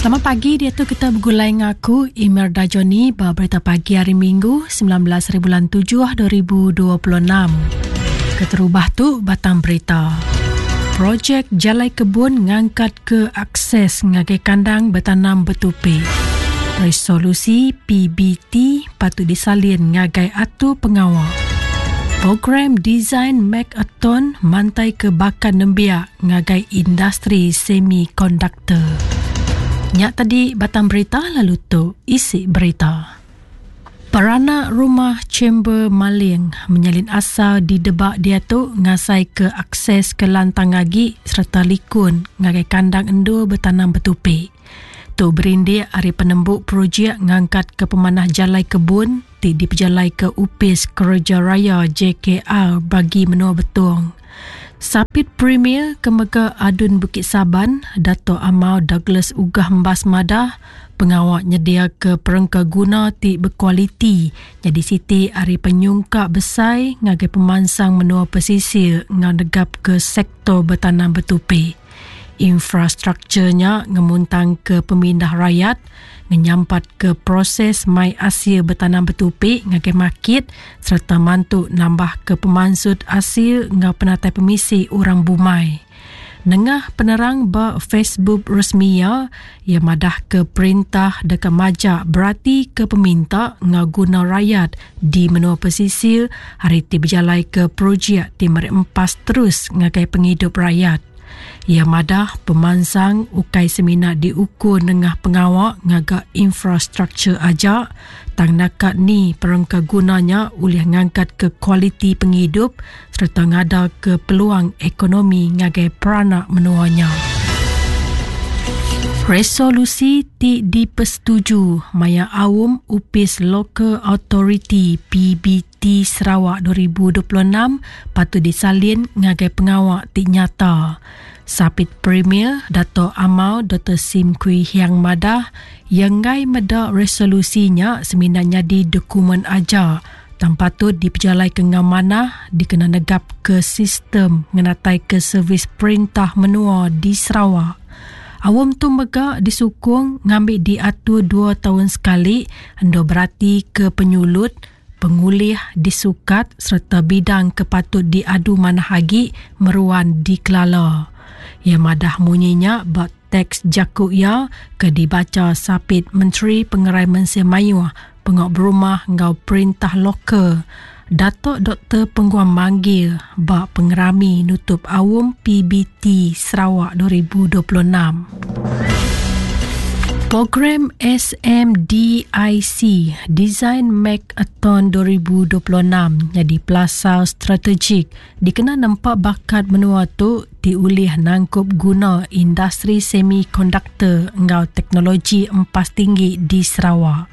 Selamat pagi diatu kita begulai ngaku Imelda Johnny ba berita pagi hari Minggu 19 hari bulan 7 2026. Keterubah tu batang berita. Projek Jalai Kebun ngangkat ke akses ngagai kandang betanam betupi. Resolusi PBT patut disalin ngagai atur pengawa. Program Design Makeathon mantai ke bakat nembiak ngagai industri semikonduktor. Nya tadi batang berita lalu tu isi berita. Peranak rumah Chamber Maling menyalin asal di Debak diatu ngasaika akses ke lantang agi sereta likun ngagai kandang endur betanam betupi. Tu berindik ari penembu projek ngangkatka pemanah jalai kebun ti dipejalaika Opis Kereja Raya JKR Bagi Menua Betong. Sapit Premier ke mega ADUN Bukit Saban, Datuk Amar Douglas Uggah Embas madah, pengawa nyediaka perengka guna ti bekualiti nyadi siti ari penyungkak besai ngagai pemansang menua pesisir enggau negapka sektor betanam betupi. Infrastruktur nya ngemuntangka pemindah rayat, ngenyampatka proses mai asil betanam betupi ngagai makit sereta mantu nambahka pemansut asil enggau penatai pemisi orang bumai. Nengah penerang ba Facebook resmi iya, iya madahka perintah deka majak beratika peminta enggau guna rayat di menua pesisir ari ti bejalaika projek ti meri empas terus ngagai pengidup rayat. Iya madah pemansang ukai semina diukur nengah pengawa ngaga infrastruktur aja tang naka ni perengka guna nya ulih ngangkatka kualiti pengidup sereta ngadaka peluang ekonomi ngagai peranak menua nya. Resolusi ti dipesetuju maya aum Opis Local Authority PBT ti Sarawak 2026 patut disalin ngagai pengawa ti nyata. Sapit Premier Datuk Amar Doktor Sim Kui Hiang madah, iya enggai meda resolusi nya semina nyadi dokumen aja tang patut dipejalaika enggau manah dikena negapka sistem ngenataika servis perintah menua di Sarawak. Aum tu mega disukung ngambi diatur dua taun sekali endur beratika penyulut, pengulih disukat sereta bidang ke patut diadu manah agi meruan dikelala. Iya madah munyi nya ba teks jaku iya ke dibacha Sapit Menteri Pengerai Mensia Mayuh, Pengawa Berumah enggau Perintah Lokal, Datuk Doktor Penguang Manggil ba pengerami nutup Aum PBT Sarawak 2026. Program SMDIC Design Makeathon 2026 nyadi pelasar strategik dikena nempa bakat menua tu ti ulih nangkup guna industri semikonduktor enggau teknologi empas tinggi di Sarawak.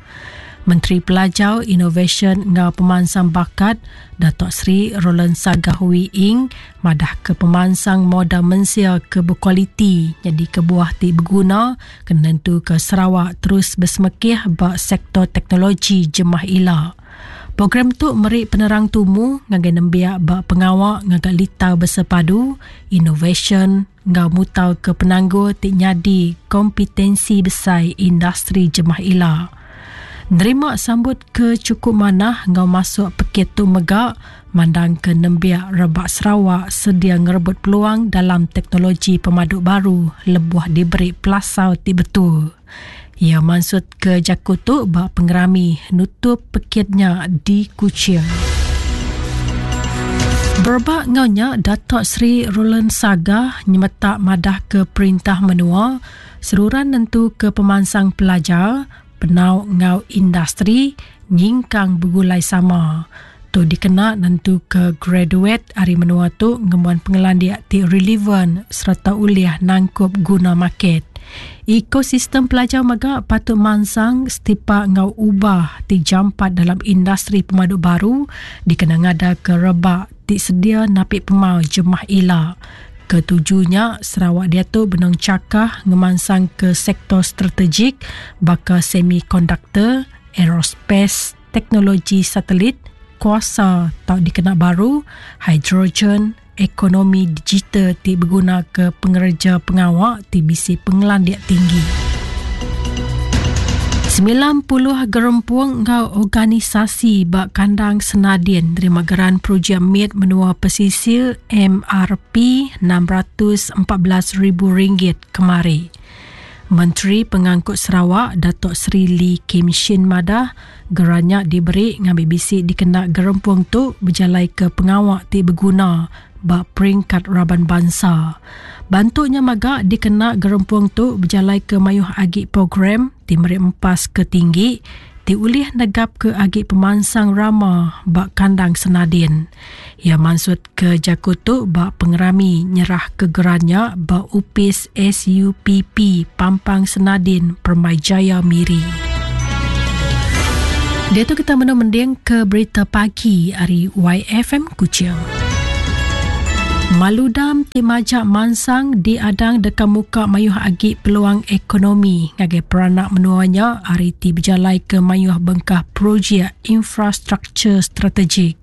Menteri Pelajar, Inovasyen enggau Pemansang Bakat, Datuk Seri Roland Sagah Wee Ing madahka pemansang modal mensia ke bekualiti nyadi kebuah ti beguna kena nentuka Sarawak terus besemekih ba sektor teknologi jemah ila. Program tu meri penerang tumu ngagai nembiak ba pengawa ngaga litar bersepadu, inovasyen enggau mutarka penanggul ti nyadi kompetensi besai industri jemah ila. Nerima sambut ke chukup manah enggau masuk pekit tu mega mandangka nembiak rebak Sarawak sedia ngerebut peluang dalam teknologi pemadu baru lebuh diberi pelasar ti betul. Iya mansutka jaku tu ba pengerami nutup pekit nya di Kuching. Berebak enggau nya, Datuk Seri Roland Sagah nyemetak madahka perintah menua seruran nentuka pemansang pelajar, penau enggau industri nyingkang begulai sama. Tu dikena nentuka graduet ari menua tu ngembuan pengelandik ti relevan sereta ulih nangkup guna market. Ekosistem pelajar mega patut mansang setipak enggau ubah ti jampat dalam industri pemadu baru dikena ngadaka rebak ti sedia napi pemau jemah ila. Ke tuju nya, Sarawak diatu benung chakah ngemansangka sektor strategik baka semikonduktor, aerospace, teknologi satelit, kuasa tau dikena baru, hidrogen, ekonomi digital ti begunaka pengereja pengawa ti bisi pengelandik tinggi. 90 gerempung enggau organisasi ba kandang Senadin nerima geran projek mit menua pesisir MRP 614 ribu ringgit kemari. Menteri Pengangkut Sarawak Datuk Seri Lee Kim Shin madah geran nya diberi ngambi bisi dikena gerempung tu bejalaika pengawa ti beguna ba peringkat raban bansa. Bantu nya mega dikena gerempung tu bejalaika mayuh agi program ti meri empas ke tinggi ti ulih negapka agi pemansang rama ba kandang Senadin. Iya mansutka jaku tu ba pengerami nyerahka geran nya ba Opis SUPP Pampang Senadin Permyjaya Miri. Diatu kita menu mending ke berita pagi ari YFM Kuching. Maludam ti majak mansang diadang deka muka mayuh agi peluang ekonomi ngagai peranak menua nya ari ti bejalaika mayuh bengkah projek infrastruktur strategik.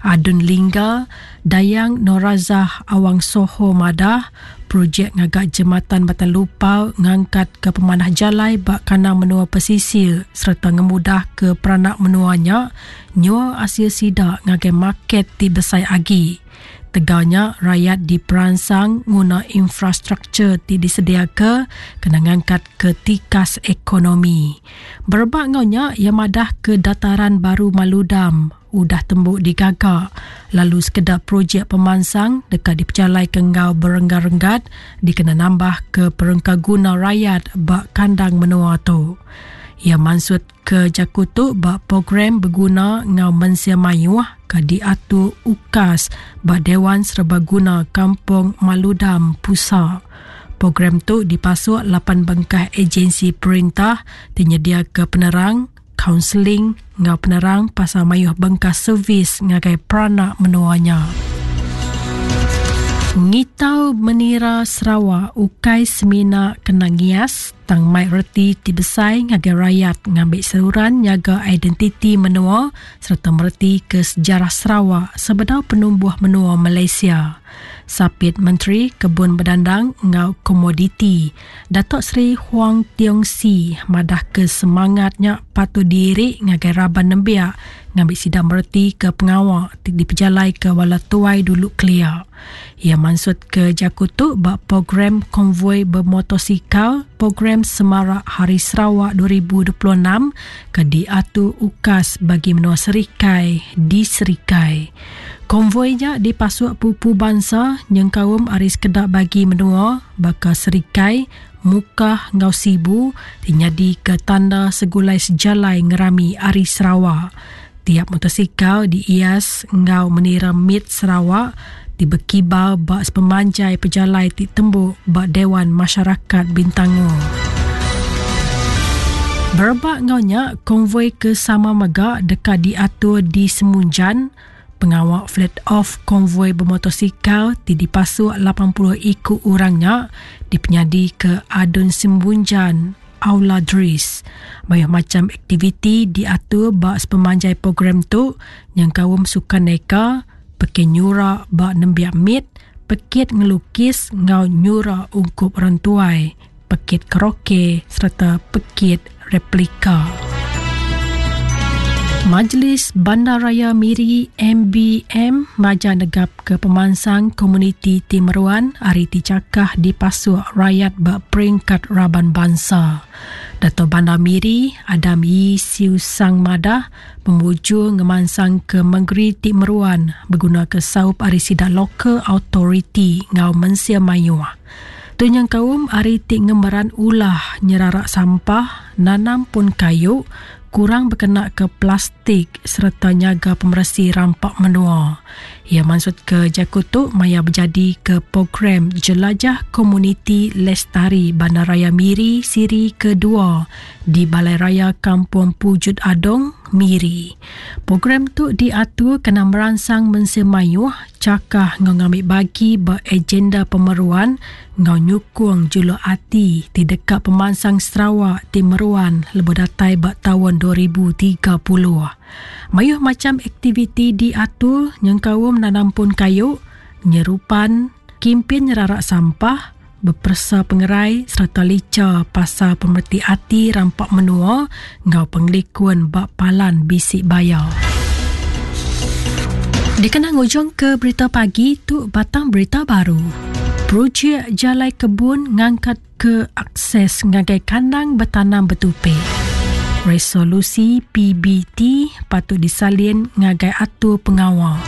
Adun Lingga, Dayang Norazah Awang Soho madah, projek ngaga Jematan Batang Lupar ngangkatka pemanah jalai ba kandang menua pesisir sereta ngemudahka peranak menua nya nyual asil sida ngagai market ti besai agi. Tegal nya, rayat diperansang nguna infrastruktur ti disediaka kena ngangkatka tikas ekonomi. Berebak enggau nya, iya madahka Dataran Baru Maludam udah tembu digaga lalu sekeda projek pemansang deka dipejalaika enggau berenggat-renggat dikena nambahka perengkaguna rayat ba kandang menua tu. Iya mansut ke jaku tu ba program beguna enggau mensia mayuh ke diatur UKAS ba Dewan Serbaguna Kampung Maludam, Pusa. Program tu dipasuk lapan bengkah ejensi perintah ti nyediaka penerang, kaunseling enggau penerang pasal mayuh bengkah servis ngagai peranak menua nya. Ngitau menira Sarawak ukai semina kena ngias tang mai reti ti besai ngagai rayat ngambi seruran nyaga identiti menua sereta mereti ke sejarah Sarawak sebedau penumbuh menua Malaysia. Sapit Menteri Kebun Bedandang enggau Komoditi, Datuk Seri Huang Tiong Sii madahka semangat nya patut diiri ngagai raban nembiak ngambi sida mereti ke pengawa ti dipejalaika bala tuai dulu kelia. Iya mansutka jaku tu ba Program Konvoi Bemotosikal Program Semarak Hari Sarawak 2026 ke diatur UKAS bagi menua Serikai di Serikai. Konvoi nya dipasuk pupu bansa nyengkaum ari sekeda bagi menua baka Serikai, Mukah enggau Sibu ti nyadika tanda segulai sejalai ngerami Hari Sarawak. Tiap motosikal diias enggau menira mit Sarawak ti bekibar ba sepemanjai pejalai ti tembu ba Dewan Masyarakat Bintangor. Berebak enggau nya, konvoi ke sama mega deka diatur di Semunjan, Pengawa flat off konvoi bemotosikal ti dipasuk 80 iku orang nya dipenyadika Adun Simbunjan, Aula Dris. Mayuh macham aktiviti diatur ba sepemanjai program tu nyengkaum sukan neka, pekit nyura ba nembiak mit, pekit ngelukis enggau nyura ungkup orang tuai. pekit karaoke sereta pekit replika. Majlis Bandaraya Miri MBM maja negapka pemansang komuniti ti meruan ari ti chakah dipasuk rayat ba peringkat raban bansa. Dato Bandar Miri, Adam Yii Siew Sang madah, pemujur ngemansangka mengeri ti meruan begunaka saup ari sida local authority enggau mensia mayuh. Tu nyengkaum ari ti ngemeran ulah nyerarak sampah, nanam pun kayu, kurang bekenaka plastik sereta nyaga pemeresi rampa menua. Iya mansutka jaku tu maya bejadika Program Jelajah Komuniti Lestari Bandaraya Miri Siri Kedua di Balai Raya Kampung Pujut Adong, Miri. Program tu diatur kena meransang mensia mayuh Chakah enggau ngambi bagi ba agenda pemeruan enggau nyukung juluk ati ti deka pemansang Sarawak ti meruan lebuh datai ba taun 2030. Mayuh macham aktiviti diatur nyengkaum nanam pun kayu, nyerupan, kimpin nyerarak sampah, beperesa pengerai sereta licha pasal pemereti ati rampa menua enggau pengelikun ba palan bisi baya. Dikena ngujungka berita pagi tu batang berita baru. Projek Jalai Kebun ngangkatka akses ngagai kandang betanam betupi. Resolusi PBT patut disalin ngagai atur pengawa.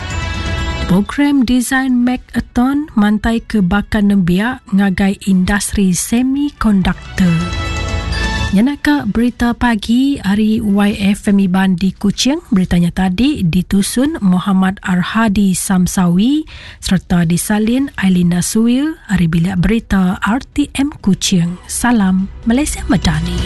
Program Design Makeathon mantaika baka nembiak ngagai industri semikonduktor. Nyenaka berita pagi ari YFM Iban di Kuching, berita nya tadi ditusun Mohamad Arhadi Samsawi sereta disalin Ailinda Suwil ari Bilik Berita RTM Kuching. Salam Malaysia Madani.